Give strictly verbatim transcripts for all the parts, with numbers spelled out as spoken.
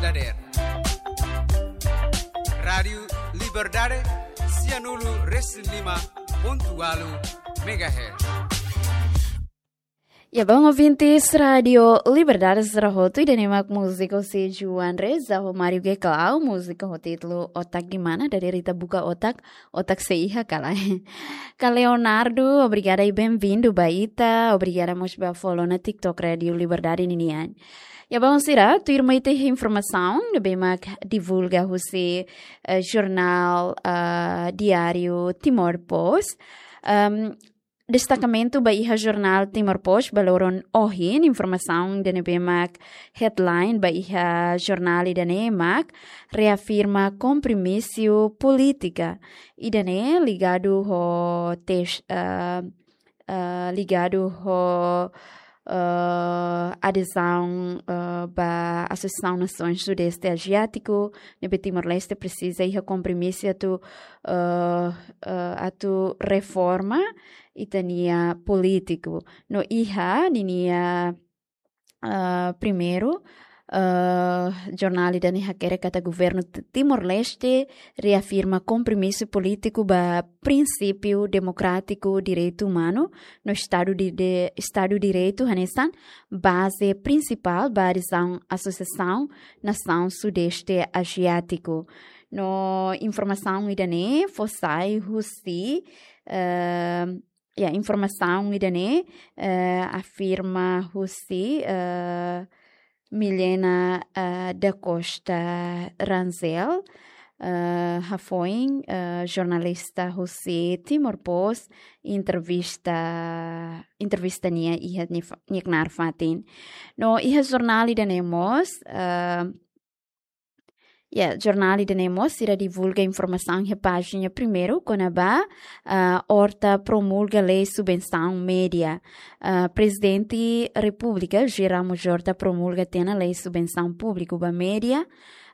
Dader. Rádiu Liberdade, sianulu resin lima pontu walu megahertz. Ya, bom, ouvintes Rádiu Liberdade sira hotu, ida-ne'e mak múzika husi Juan Reza ho Mario Geclau, múzika ho títulu Otak di Mana, dader ita buka otak, otak sei iha ka lae. Ka Leonardo, obrigada i bem-vindo ba ita, obrigada mós ba follow ona TikTok Rádiu Liberdade ninian. Ya, bom, sira, tuirmai ita iha informasaun ne'ebé mak divulga husi, eh, jornál, ah, diáriu Timor Post. Ehm, destakamentu ba iha jornál Timor Post ba loron ohin, informasaun ida-ne'ebé mak headline ba iha jornál ida-ne'e mak reafirma kompromisu polítika. Ida-ne'e ligadu ho tes-, eh, eh, ligadu ho, eh, adezaun, eh, ba Asosiasaun Nasoins Sudeste Aziátiku, ne'ebé Timor-Leste presiza iha kompromisu atu, eh, eh, atu reforma ita-nia polítiku. No iha ninia, eh, primeiru, eh, jornál ida-ne'e hakerek katak governu T-, Timor-Leste reafirma kompromisu polítiku ba prinsípiu demokrátiku, direitu umanu, no Estadu di, de, Estadu Direitu hanesan baze prinsipál ba adezaun Asosiasaun Nasaun Sudeste Aziátiku. No informasaun ida-ne'e fó sai husi, eh, ya, informasaun ida-ne'e, eh, afirma husi, eh, Milena, eh, da Costa Rangel, eh, hafoin, eh, jornalista husi Timor Post, entrevista, entrevista nia iha nia fa-, nia knaar fatin. No iha jornál ida-ne'e mós, eh, ya, jornál ida-ne'e mós sira divulga informasaun iha pájina primeiru kona-ba, ah, Horta promulga lei subvensaun média. Ah, Prezidente Repúblika, José Ramos Horta, promulga tiha ona lei subvensaun públiku ba média.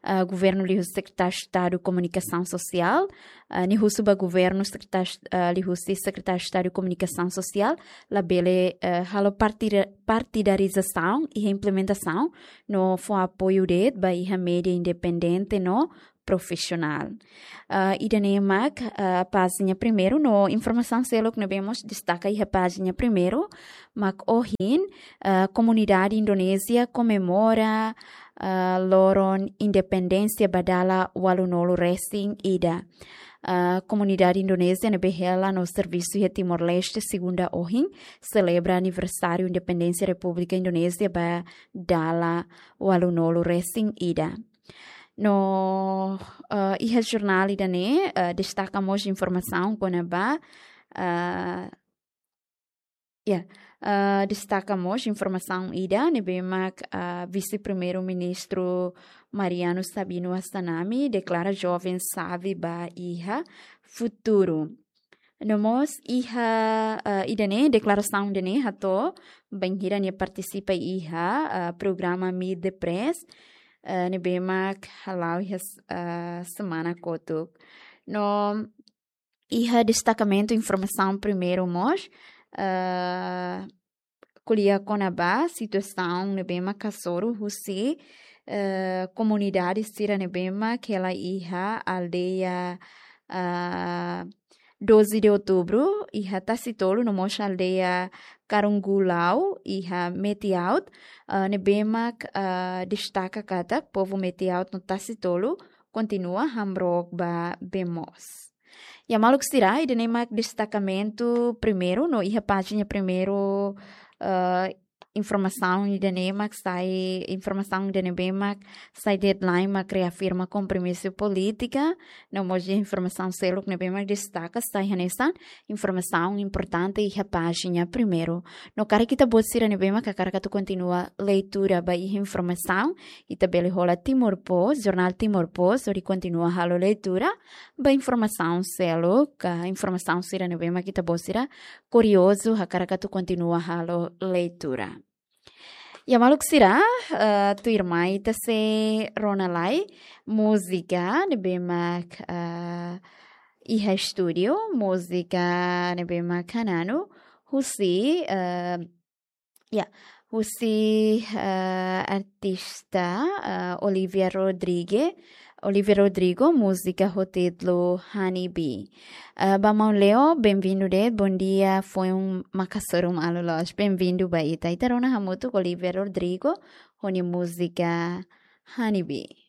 Ah, governu liuhusi Sekretáriu Estadu Komunikasaun Sosiál, ah, nia husu ba governu sekretáriu, ah, liuhusi Sekretáriu Estadu Komunikasaun Sosiál, labele, eh, halo partida-, partidarizasaun iha implementasaun, no fó apoiu de'it ba iha média independente no profisionál. Ah, ida-ne'e mak, ah, pájina primeiru, no informasaun seluk ne'ebé mós destaka iha pájina primeiru, mak ohin, ah, komunidade Indonézia komemora, ah, loron independénsia ba dala ualunulu resin ida. Ah, komunidade Indonézia ne'ebé hela no servisu iha Timor-Leste, segunda ohin, selebra aniversáriu independénsia Repúblika Indonézia ba dala ualunulu resin ida. No, eh, iha jornál ida-ne'e, eh, destaka mós informasaun kona-ba, eh, ya, eh, destaka mós informasaun ida ne'ebé mak, eh, Vise-Primeiru-Ministru Mariano Sabino Assanami deklara joven xave ba iha futuru. No mós iha, eh, ida-ne'e, deklarasaun ida-ne'e hato'o bainhira nia partisipa iha, eh, programa Meet the Press, eh, ne'ebé mak hala'o iha s-, eh, semana kotuk. No iha destakamentu informasaun primeiru mós, eh, ko'alia kona-ba situasaun ne'ebé mak hasoru husi, eh, komunidade sira ne'ebé mak hela iha aldeia, ah, doze de Outubro, iha Tasitolu, no mós aldeia Karungulau, iha Metiaut, ah, ne'ebé mak, ah, destaka katak povu Metiaut no Tasitolu kontinua hamrook ba bee moos. Ya, maluk sira, ida-ne'e mak destakamentu primeiru, no iha pájina primeiru, eh, informasaun ida-ne'e mak sai, informasaun ida ne'ebé mak sai headline mak reafirma kompromisu polítika, no mós iha informasaun seluk ne'ebé mak destaka sai hanesan informasaun importante iha pájina primeiru. No karik ita-boot sira ne'ebé mak hakarak atu kontinua leitura ba iha informasaun, ita bele hola Timor Post, jornál Timor Post, hodi kontinua halo leitura ba informasaun seluk, ka informasaun sira ne'ebé mak ita-boot sira kuriozu, hakarak atu kontinua halo leitura. Ya, maluk sira, eh, tuirmai ita sei rona lai múzika ne'ebé mak, eh, iha estúdiu, múzika ne'ebé mak hananu husi, eh, ya, husi eh, artista eh, Olivia Rodrigue, Olivia Rodrigo, múzika ho títulu Honey Bee. Eh, ba maun Leo, benvindu de'it, bondia, foin maka hasoru malu loos, benvindu ba ita. Ita rona hamutuk Olivia Rodrigo, ho nia múzika Honey Bee.